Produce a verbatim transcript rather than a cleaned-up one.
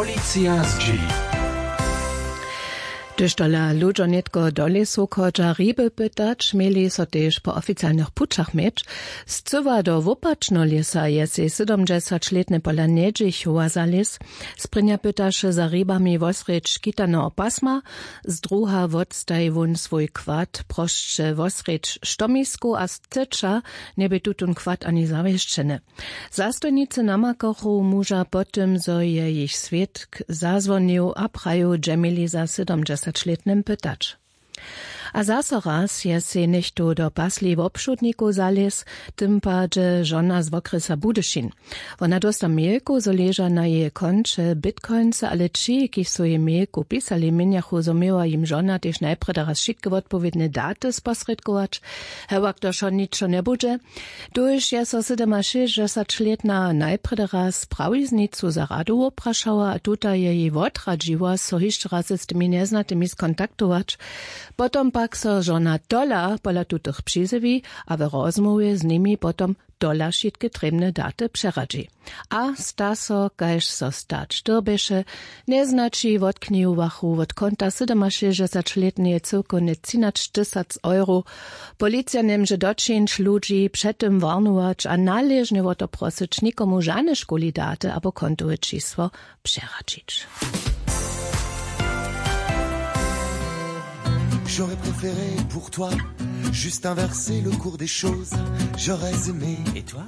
Policija zdźěli. Hdyž tola ludźo nětko do lěsu chodźa hriby pytać, měli so tež po oficialnych pućach měć. Scyła do wopačneho lěsa je sej sydomdźesaćlětny pola njedźichowa za lěs. Sprěnja pytaše za hribami wosrjedź škitaneho pasma, zdruha wotstaji wón swój kład prosće wosrjedź štomiskow a scyća njebě tutón kład ani zawěsćeny. Zastojnicy namakachu muža po tym, zo je jich swědk zazwonił a praju dźe měli za sydomdźesaćlětnym pytać. A zaso raz je sej něchtó do pasli wobšudnikow zalěz, w tym padźe žona z wokrjesa budyšin. Wona dósta mejlkow, zo leža na jeje konće bitcoinsy, ale ći, kiž su jej mejlkow pisali, měnjachu, zo měła jim žona tež najprjedy raz wšitke wotpowědne daty sposrědkować. Hewak to wšo ničo njebudźe. Tuž je so sydomašěsćdźesaćlětna najprjedy raz prawiznicu za radu woprašała a tuta je jej wotradźiła, so hišće raz z tymi njeznatymi skontaktować. Potom pak so žona tola pola tutych přizjewi a w rozmołwje z nimi potom tola wšitke trěbne daty přeradźi. A sta so, kaž so stać dyrbješe. Njeznaći wotknihowachu wot konta sydomašěsćdźesaćlětneje cyłkownje třinaćtysac euro. Policija njemóže dočińć, ludźi před tym warnować a naležnje wo to prosyć, nikomu žane škuli daty abo kontowe čisło přeradźić. J'aurais préféré pour toi juste inverser le cours des choses. J'aurais aimé. Et toi ?